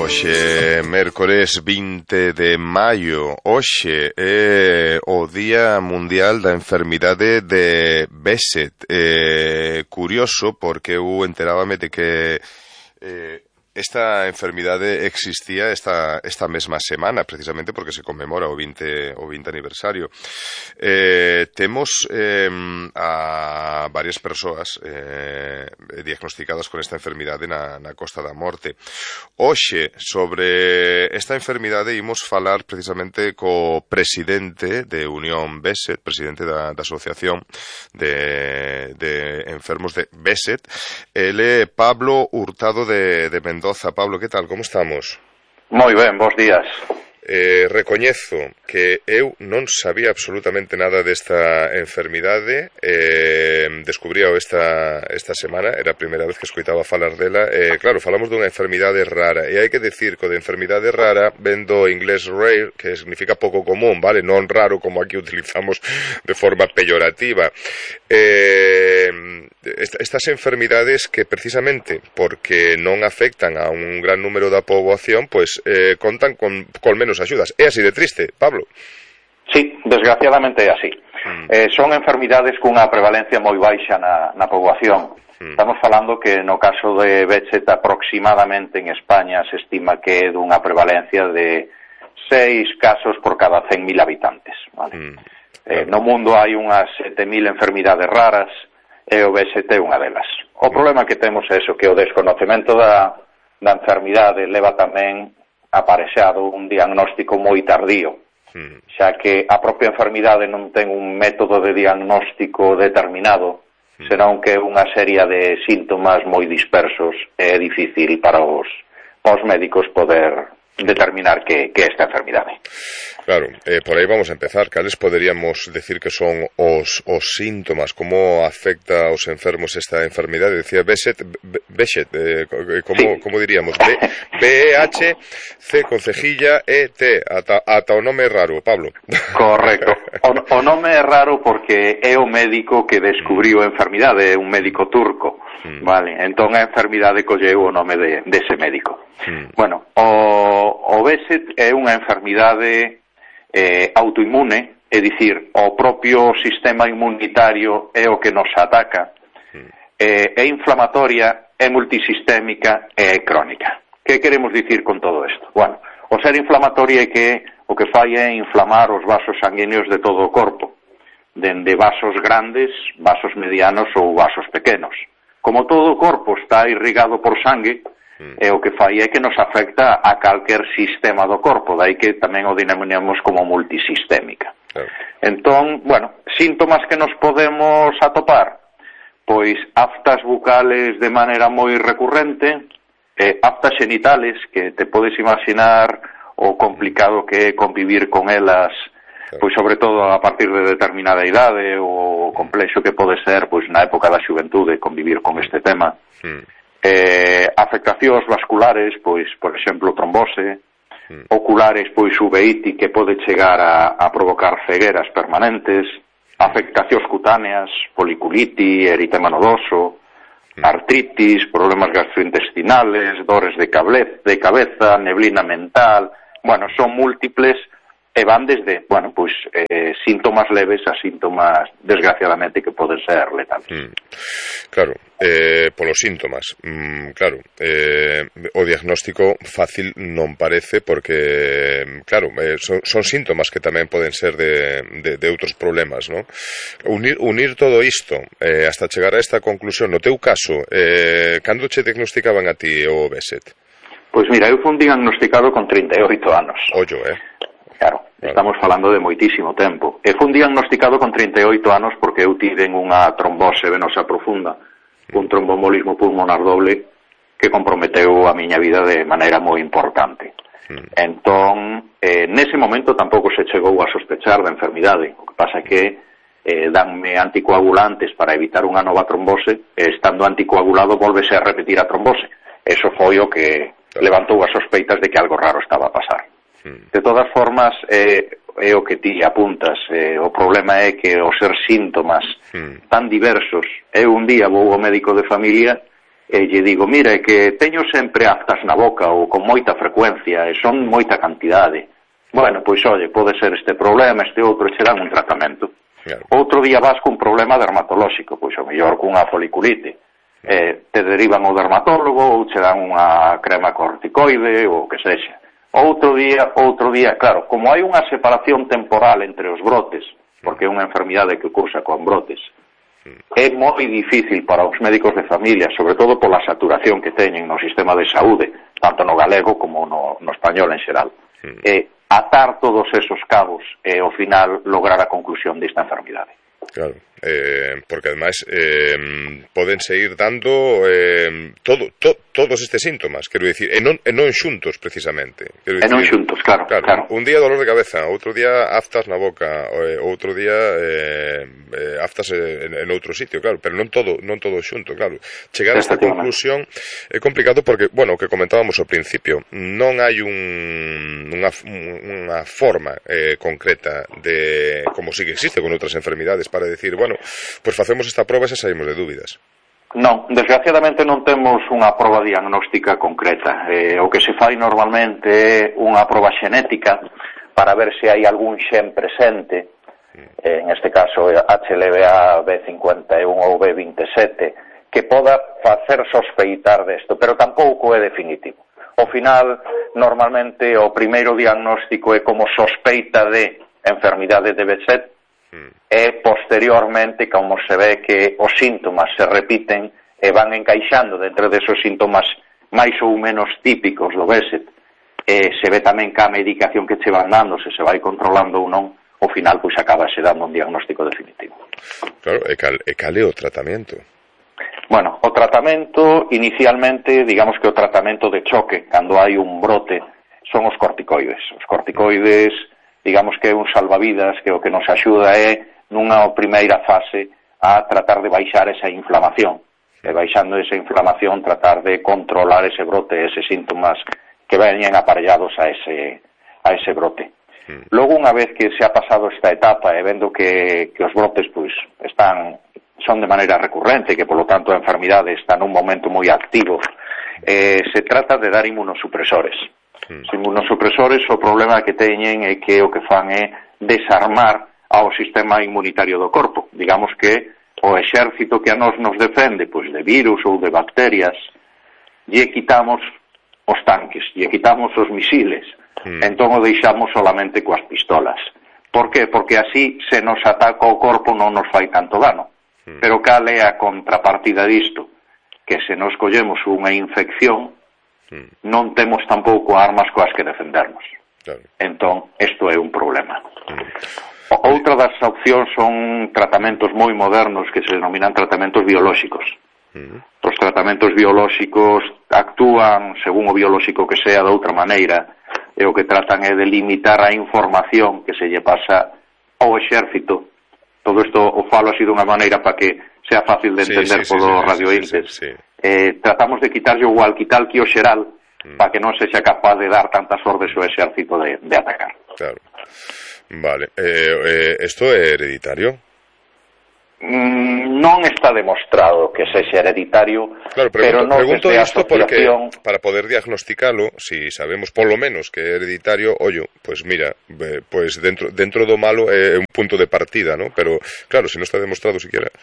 Hoxe, mércores 20 de maio, hoxe é o Día Mundial da Enfermidade de Behçet. Curioso, porque eu enterábame de que esta enfermidade existía esta mesma semana, precisamente porque se conmemora o 20 aniversario. Temos a varias persoas diagnosticadas con esta enfermidade na Costa da Morte. Hoxe, sobre esta enfermidade, imos falar precisamente co presidente de Unión Behçet, presidente da Asociación de Enfermos de Behçet. Ele é Pablo Hurtado de Mendoza. Pablo, que tal? Como estamos? Moi ben, bons días. Recoñezo que eu non sabía absolutamente nada desta enfermidade. Descubríao esta semana, era a primeira vez que escoitaba falar dela. Claro, falamos dunha enfermidade rara, e hai que decir que de enfermidade rara ven do inglés rare, que significa pouco común, vale? Non raro como aquí utilizamos de forma peyorativa. Estas enfermidades que precisamente porque non afectan a un gran número da poboación, pois contan con menos axudas. É así de triste, Pablo? Sí, desgraciadamente é así. Son enfermidades cunha prevalencia moi baixa na poboación. Estamos falando que no caso de Behçet aproximadamente en España se estima que é dunha prevalencia de 6 casos por cada 100.000 habitantes, vale? No mundo hai unhas 7.000 enfermidades raras e o Behçet é unha delas. O problema que temos é eso, que o desconocemento da enfermidade leva tamén aparexado un diagnóstico moi tardío, xa que a propia enfermidade non ten un método de diagnóstico determinado, senón que é unha serie de síntomas moi dispersos e é difícil para os médicos poder determinar que esta enfermidade. Claro, por aí vamos a empezar. Cales poderíamos decir que son os síntomas? Como afecta aos enfermos esta enfermidade? Decía Behçet, como diríamos? B-E-H-C con cejilla E-T, ata o nome é raro, Pablo. Correcto. O nome é raro porque é o médico que descubriu a enfermidade, é un médico turco, vale? Entón a enfermidade colleu o nome dese médico. Bueno, o Behçet é unha enfermidade autoinmune, é dicir, o propio sistema inmunitario é o que nos ataca, é inflamatoria, é multisistémica e é crónica. Que queremos dicir con todo isto? Bueno, o ser inflamatoria é que o que fai é inflamar os vasos sanguíneos de todo o corpo, dende vasos grandes, vasos medianos ou vasos pequenos. Como todo o corpo está irrigado por sangue, e o que fai é que nos afecta a calquer sistema do corpo, dai que tamén o denominamos como multisistémica. Entón, bueno, síntomas que nos podemos atopar, pois aftas bucales de maneira moi recurrente, aftas xenitales, que te podes imaginar o complicado que é convivir con elas, pois sobre todo a partir de determinada idade, o complexo que pode ser pois na época da xuventude convivir con este tema. Afectacións vasculares, pois, por exemplo, trombose, oculares, pois, uveíti, que pode chegar a provocar cegueras permanentes, afectacións cutáneas, policuliti, eritema nodoso, artritis, problemas gastrointestinales, dores de cabeza, neblina mental, bueno, son múltiples e van desde, bueno, pois, síntomas leves a síntomas, desgraciadamente, que poden ser letales. Claro, polos síntomas, claro, o diagnóstico fácil non parece porque, claro, son síntomas que tamén poden ser de outros problemas, non? Unir todo isto hasta chegar a esta conclusión, no teu caso, cando che diagnosticaban a ti o Behçet? Pois mira, eu fui diagnosticado con 38 anos. Ollo, Claro, estamos falando de moitísimo tempo. E fui diagnosticado con 38 anos porque eu tiven unha trombose venosa profunda, un tromboembolismo pulmonar doble que comprometeu a miña vida de maneira moi importante. Entón, nese momento tampouco se chegou a sospechar da enfermidade. O que pasa é que danme anticoagulantes para evitar unha nova trombose, e estando anticoagulado volvese a repetir a trombose. Eso foi o que levantou as sospeitas de que algo raro estaba a pasar. De todas formas, é o que ti apuntas. O problema é que os ser síntomas tan diversos, eu un día vou ao médico de familia e lle digo, mire, que teño sempre aftas na boca ou con moita frecuencia e son moita cantidade. Bueno, pois, oye, pode ser este problema, este outro, che dan un tratamento. Claro. Outro día vas cun problema dermatolóxico, pois o mellor cunha foliculite. Te derivan ao dermatólogo ou che dan unha crema corticoide ou o que sexa. Outro día, claro, como hai unha separación temporal entre os brotes, porque é unha enfermidade que cursa con brotes, é moi difícil para os médicos de familia, sobre todo pola saturación que teñen no sistema de saúde, tanto no galego como no español en xeral. Atar todos esos cabos e ao final lograr a conclusión desta enfermidade. Claro, porque ademais poden seguir dando todos estes síntomas, quero dicir, e non xuntos precisamente. E non xuntos, claro. Un día dolor de cabeza, outro día aftas na boca, outro día aftas en outro sitio, claro, pero non todo xunto, claro. Chegar a esta conclusión é complicado porque, bueno, o que comentábamos ao principio, non hai unha forma concreta de, como sí que existe con outras enfermidades, para decir, bueno, pues facemos esta proba e xa saímos de dúbidas. Non, desgraciadamente non temos unha proba diagnóstica concreta. O que se fai normalmente é unha proba xenética para ver se hai algún xen presente, en este caso HLA B51 ou B27, que poda facer sospeitar desto, pero tampouco é definitivo. Ao final, normalmente, o primeiro diagnóstico é como sospeita de enfermidade de Behçet, e posteriormente, como se ve que os síntomas se repiten e van encaixando dentro desos síntomas máis ou menos típicos do Behçet, se ve tamén que a medicación que che van dando, se vai controlando ou non, ao final pois acabase dando un diagnóstico definitivo. Claro, e cal é o tratamento? Bueno, o tratamento inicialmente, digamos que o tratamento de choque cando hai un brote son os corticoides. Os corticoides, digamos que é un salvavidas que o que nos axuda é nunha primeira fase a tratar de baixar esa inflamación, e baixando esa inflamación tratar de controlar ese brote, eses síntomas que veñen aparellados a ese brote. Logo, unha vez que se ha pasado esta etapa e vendo que os brotes pois son de maneira recurrente, que polo tanto a enfermidade está nun momento moi activo, se trata de dar inmunosupresores. Os inmunosupresores, o problema que teñen é que o que fan é desarmar ao sistema inmunitario do corpo. Digamos que o exército que a nos defende, pois de virus ou de bacterias, lle quitamos os tanques, lle quitamos os misiles, entón o deixamos solamente coas pistolas. Por qué? Porque así se nos ataca o corpo non nos fai tanto dano. Pero cal é a contrapartida disto? Que se nos collemos unha infección, non temos tampouco armas coas que defendernos. Claro. Entón, isto é un problema. Outra das opcións son tratamentos moi modernos que se denominan tratamentos biolóxicos. Os tratamentos biolóxicos actúan, según o biolóxico que sea, de outra maneira, e o que tratan é de limitar a información que se lle pasa ao exército. Todo isto o falo así dunha maneira para que sea fácil de entender polo radioíntes. Tratamos de quitarlle o walkie-talkie o xeral para que non sexa capaz de dar tantas ordes ao exército de atacar. Claro. Vale. Isto é hereditario? Non está demostrado que sexa hereditario, claro, pero pregunto isto porque para poder diagnosticalo, si sabemos polo menos que é hereditario, pues mira, pues dentro do malo é un punto de partida, ¿no? Pero claro, se non está demostrado siquiera.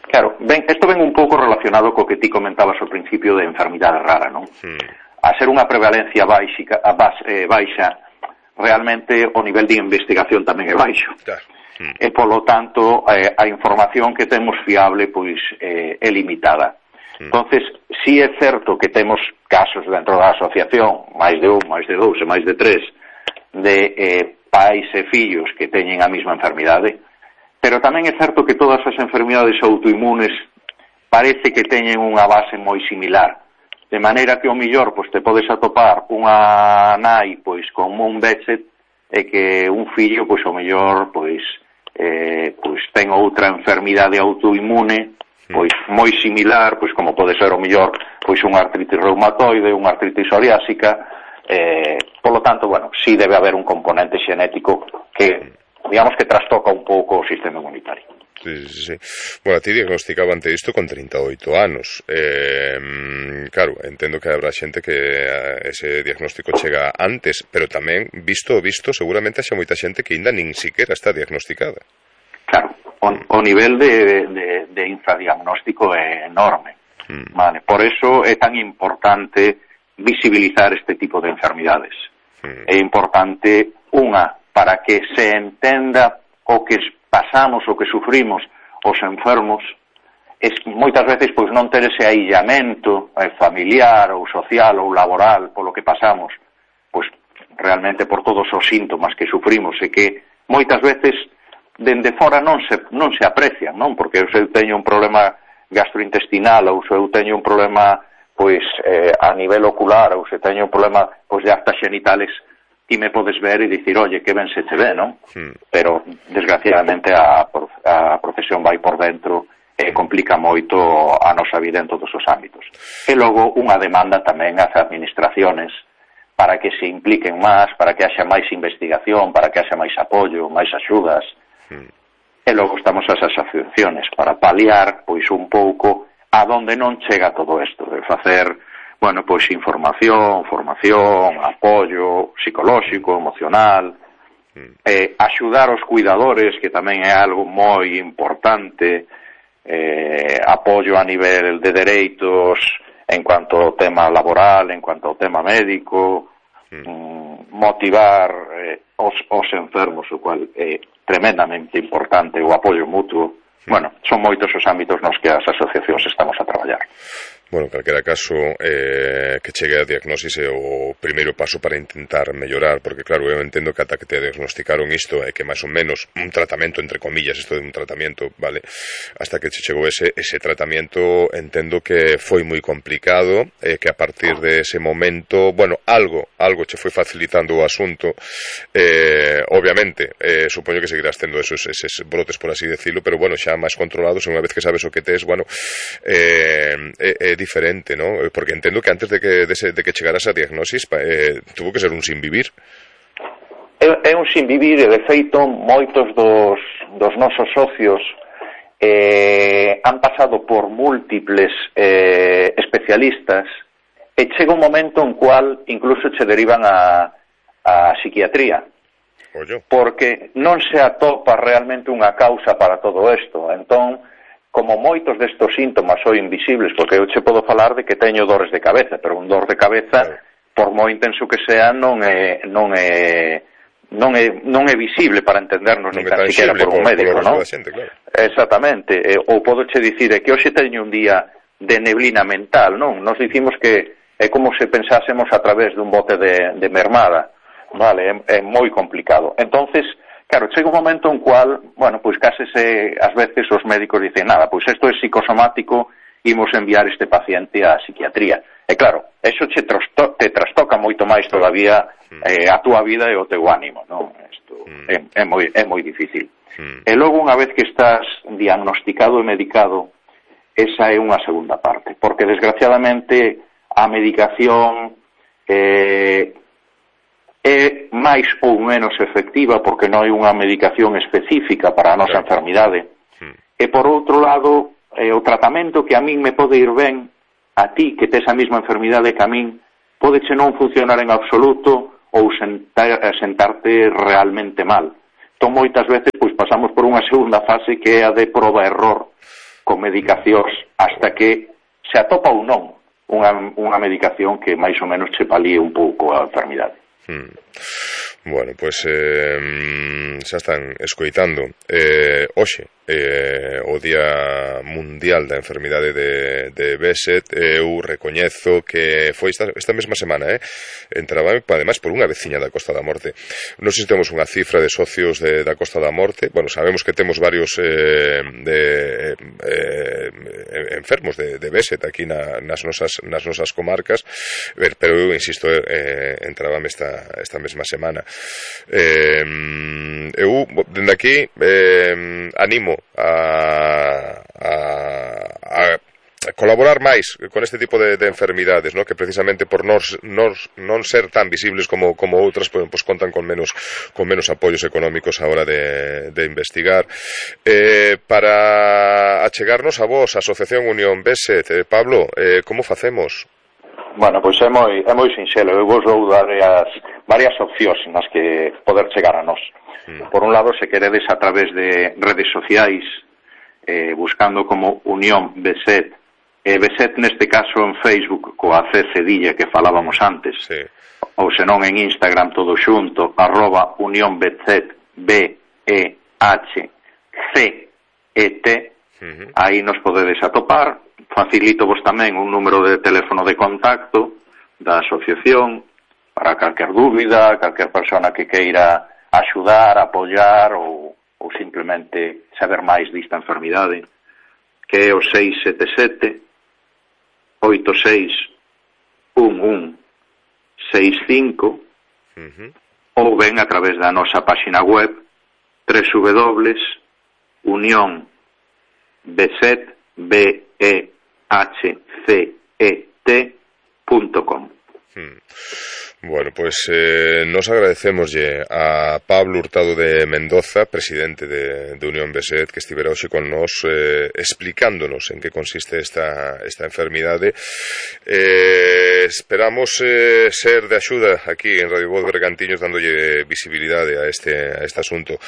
Claro, isto ven un pouco relacionado co que ti comentabas ao principio de enfermidade rara, non? A ser unha prevalencia baixa, realmente o nivel de investigación tamén é baixo. Claro. E polo tanto a información que temos fiable pois é limitada. Entonces, si é certo que temos casos dentro da asociación, máis de un, máis de dous e máis de tres, de pais e fillos que teñen a mesma enfermidade, pero tamén é certo que todas as enfermidades autoinmunes parece que teñen unha base moi similar, de maneira que ao millor pois te podes atopar unha nai pois con un Behçet e que un fillo pois ao mellor pois ten outra enfermidade autoinmune pois moi similar, pois como pode ser ao mellor pois unha artritis reumatoide, unha artritis psoriásica, polo tanto, bueno, sí debe haber un componente xenético que digamos que trastoca un pouco o sistema inmunitario. Sí. Bueno, a ti diagnosticaban isto con 38 anos. Claro, entendo que habrá xente que ese diagnóstico chega antes, pero tamén, visto, seguramente haxa moita xente que ainda nin siquiera está diagnosticada. Claro, o nivel de infradiagnóstico é enorme. Vale, por eso é tan importante visibilizar este tipo de enfermidades. É importante, para que se entenda o que pasamos, o que sufrimos os enfermos, moitas veces pois non ter ese aillamento familiar ou social ou laboral polo que pasamos, pois realmente por todos os síntomas que sufrimos e que moitas veces dende fora non se aprecian, non? Porque eu teño un problema gastrointestinal ou se eu teño un problema pois a nivel ocular ou se teño un problema pois de actas genitales, ti me podes ver e dicir, oye, que ben se te ve, non? Pero, desgraciadamente, a profesión vai por dentro e complica moito a nosa vida en todos os ámbitos. E logo, unha demanda tamén ás administraciones para que se impliquen máis, para que haxa máis investigación, para que haxa máis apoio, máis axudas. E logo estamos as asociaciones para paliar, pois, un pouco a donde non chega todo isto, de facer pois información, formación, apoio psicolóxico, emocional, axudar os cuidadores, que tamén é algo moi importante, apoio a nivel de dereitos en cuanto ao tema laboral, en cuanto ao tema médico, motivar os enfermos, o cual é tremendamente importante, o apoio mutuo. Bueno, son moitos os ámbitos nos que as asociacións estamos a traballar. Bueno, en calquera caso, que chegue a diagnosis é o primeiro paso para intentar mellorar, porque claro, eu entendo que ata que te diagnosticaron isto é que máis ou menos un tratamento, entre comillas, isto de un tratamento, vale, hasta que che chegou ese tratamento, entendo que foi moi complicado, que a partir de ese momento, bueno, algo che foi facilitando o asunto, obviamente, supoño que seguirás tendo eses brotes, por así decirlo, pero bueno, xa máis controlados, unha vez que sabes o que tes, bueno, diferente, ¿no? Porque entendo que antes de que chegaras a diagnosis tuvo que ser un sinvivir. É un sinvivir e, de feito, moitos dos nosos socios han pasado por múltiples especialistas e chega un momento en cual incluso che derivan a psiquiatría. Porque non se atopa realmente unha causa para todo isto. Entón, como moitos destos síntomas son invisibles, porque eu che podo falar de que teño dores de cabeza, pero un dor de cabeza, por moi intenso que sea, non é visible para entendernos, ni tan siquiera por un médico, non? Claro. Exactamente. Ou podo che dicir que hoxe teño un día de neblina mental, non? Nos dicimos que é como se pensásemos a través dun bote de mermada, vale? É moi complicado. Entonces, claro, chega un momento en cual, pois case ás veces os médicos dicen, nada, pois isto é psicosomático, imos enviar este paciente á psiquiatría. E claro, eso te trastoca moito máis todavía a túa vida e o teu ánimo, non? Isto é moi difícil. E logo, unha vez que estás diagnosticado e medicado, esa é unha segunda parte, porque desgraciadamente a medicación é máis ou menos efectiva porque non hai unha medicación específica para a nosa enfermidade. E por outro lado, o tratamento que a min me pode ir ben, a ti que tes a mesma enfermidade que a min, podeche non funcionar en absoluto ou sentarte realmente mal. Entón, moitas veces pois pasamos por unha segunda fase que é a de proba-error con medicacións hasta que se atopa ou non unha medicación que máis ou menos che palíe un pouco a enfermidade. Bueno, pois xa están escoitando hoxe o Día Mundial da Enfermidade de Behçet. Eu recoñezo que foi esta mesma semana, entraba ademais por unha veciña da Costa da Morte. Non sei se temos unha cifra de socios da Costa da Morte. Bueno, sabemos que temos varios enfermos de Behçet aquí nas nosas comarcas, pero eu insisto, entrábame esta mesma semana. Eu dende aquí animo a colaborar máis con este tipo de enfermidades, ¿no? Que precisamente por non ser tan visibles como outras, pues contan con menos apoios económicos a hora de investigar. Para achegarnos a vos, a Asociación Unión BESET, Pablo, como facemos? Bueno, pois é moi sinxelo. Eu vos vou dar varias opcións nas que poder chegar a nós. Por un lado, se queredes a través de redes sociais, buscando como Unión BESET, BESET neste caso en Facebook coa C cedilla que falábamos antes, sí. Ou senón en Instagram todo xunto, @Unión BESET, BEHCET, aí nos podedes atopar. Facilito vos tamén un número de teléfono de contacto da asociación para calquer dúbida, calquer persona que queira axudar, apoiar ou simplemente saber máis desta enfermidade, que é o 677-86-1165, ou ben a través da nosa página web www.unionbeset.com. Bueno, pues nos agradecemos a Pablo Hurtado de Mendoza, presidente de Unión BESET, que estivera hoxe con nos explicándonos en que consiste esta enfermidade. Esperamos ser de axuda aquí en Radio Voz Bergantiños, dándolle visibilidade a este asunto.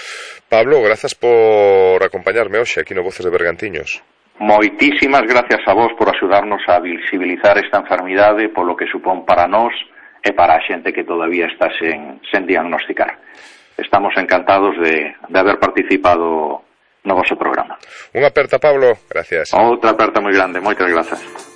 Pablo, grazas por acompañarme hoxe aquí no Voces de Bergantiños. Moitísimas gracias a vos por axudarnos a visibilizar esta enfermidade, polo que supón para nós e para a xente que todavía está sen diagnosticar. Estamos encantados de haber participado no vosso programa. Unha aperta, Pablo. Gracias. Outra aperta moi grande. Moitas grazas.